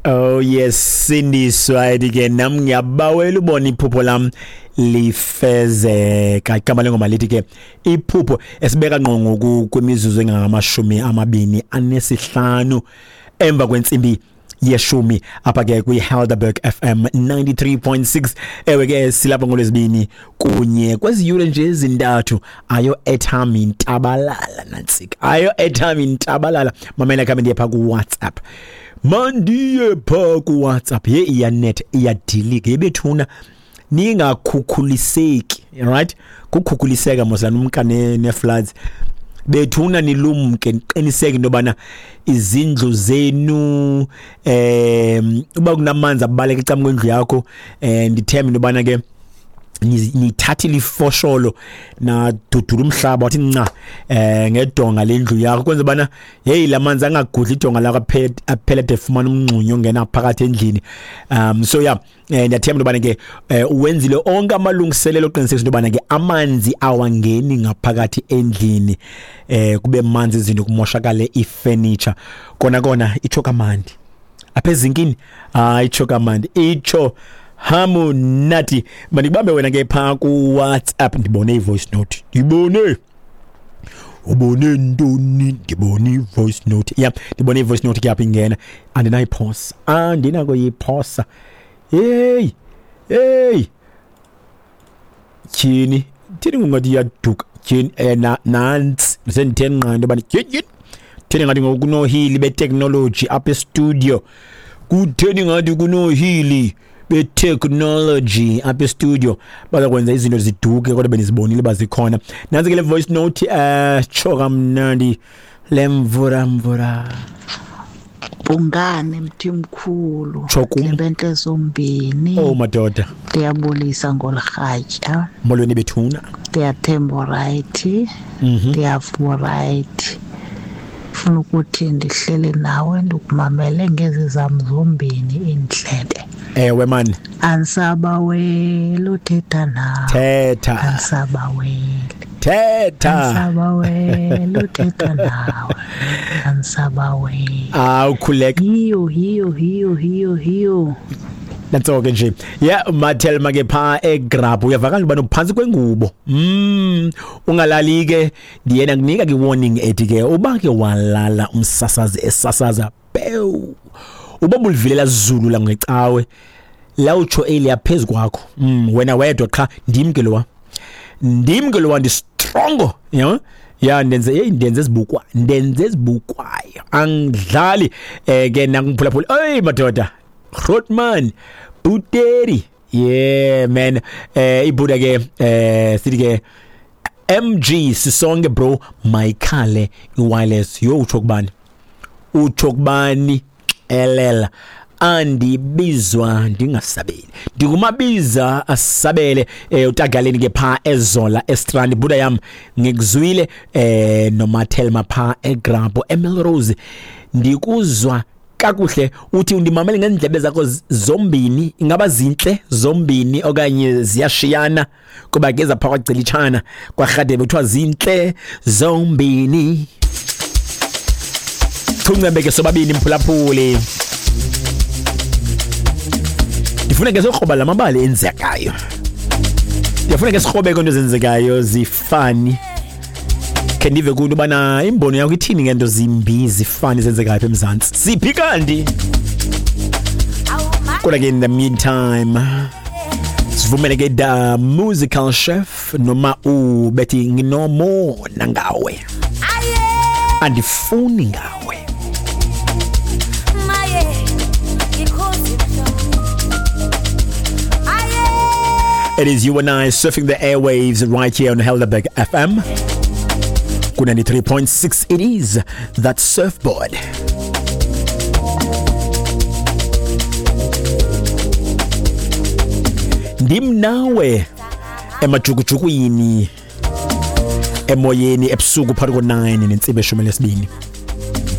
Oh yes, Sindiswa, ethi ke nam ngiyabawela ubona iphupho lam lifezeka. Igama lengoma lithi ke iphupho, esibeka ngqo ngoku kwimizuzu engama-25 emva kwentsimbi yeshumi apha ke kwi-Helderberg FM 93.6. Ewe ke, silapha ngolwezibini kunye kwezi yure nje ezintathu. Ayo airtime intabalala, nantsika, ayo airtime intabalala. Mamela, khabe ndiye phaa kuWhatsApp, mandiye phaa kuWhatsApp. Ye, iyanet iyadilika yebethuna, ningakhukhuliseki, right? Kukhukhuliseka mos umka ne-floods bethuna. Nilumke, niqiniseke into yobana izindlu zenu, uba kunamanzi abaleka ecam kwendlu yakho, ndithemba into yobana ke nithathile ifosholo, nadudula umhlaba wathi nca ngedonga lendlu yakho, kwenza bana hey, lamanzi angagudli idonga lakho aphele, aphele de fumana umngxunyo ongena phakathi endlini. So yeah, ndiyathemba into yobana ke uwenzile onke amalungiselelo oqinisekisa into yobana ke amanzi awangeni ngaphakathi endlini, kube manzi izinto, kumoshakale ifurniture. Kona kona itsho kamandi apha ezinkini, hayi, itsho kamandi, itsho hamunati. Mandikubambe wena ke phaa kuWhatsApp. Ndibone i-voice note, ndibone, ubone ntoni? Ndibone i-voice note ya, ndibone i-voice note ke apha ingena, andinayiphosa, andinakuyiphosa. Heyi heyi, tyhini, thini ngungathi iyaduka? Tyhini, nantsi senditheni nqa into yobana tyhini, tyhini, theni ngathi ngoku kunohili beteknoloji apha estudio? Kutheni ngathi kunohili beteknoloji apha estudio? Baza kwenza izinto ziduke, kodwa bendizibonile uba zikhona. Nantsi ke le voice note, tsho kamnandi le mvura mvura. Bhungane, mthimkhulu. Tsho kum. Ndlebentle zombini. Oh madoda. Ndiyabulisa ngolrhatya. Molweni bethuna. Ndiyathemba urayithi. Ndiyavuma urayithi. Funa ukuthi ndihlele nawe, ndikumamele ngezi zam zombini iindlebe. Ewe mani. Andisabaweli uthetha nawe. Thetha. Andisabaweli. Thetha. Andisabaweli uthetha nawe. Andisabaweli. Awukhuleka. Hiyo hiyo hiyo hiyo hiyo. Nantso ke nje ya Mathelma ke phaa egrab, uyavakala ubana uphantsi kwengubo. Ungalali ke, ndiye ndakunika ke warning ethi ke uba ke walala umsasazi esasaza pew, uba bulivilela zulu langecawe lawutsho eliya phezu kwakho, wena wedwa qha. Ndim ke lowa, ndim ke lowa, ndistrongo yabo ya, ndenze, hey, ndenze ezibukwa, ndenze ezibukwayo, angidlali. Ke nakumphulaphula, ey madoda, Grootman Buteri, yeah man, ibuda ke, sithi ke MG sisonke bro, mayikhale iwireless. Yo, utsho kubani? Utsho kubani? Elela andibizwa ndingasabeli, ndikumabiza asabele. Utagaleni ke pha ezola estrand, buda yam, ngikuzwile. Nomathelma pha egrabo eMelrose, ndikuzwa kakuhle. Uthi undimamele ngeendlebe zakho zombini, ingaba zintle zombini okanye ziyashiyana? Kuba ke zapha kwagcilitshana kwarhadebe kuthiwa zintle zombini. Chuncembe ke sobabini, mphulaphuli. Ndifuna ke sokroba la mabali enzekayo, ndiyafuna ke sikrobe into ezenzekayo zifani, khe ndive kunto ubana imbono yakho ithini ngento zimbi zifani zenzekayo apha eMzantsi. Siphi kanti? Kodwa ke in the meantime sivumele ke the Musical Chef noma ubethi nginomona ngawe, andifuni ngawe. Maye, ngikhozi mhlobo. Aye. It is you and I surfing the airwaves right here on Helderberg FM. Ku 93.6, it is that surfboard. Ndim nawe emajukujukwini emoyeni ebusuku phakathi ko-9 nentsimbi 12.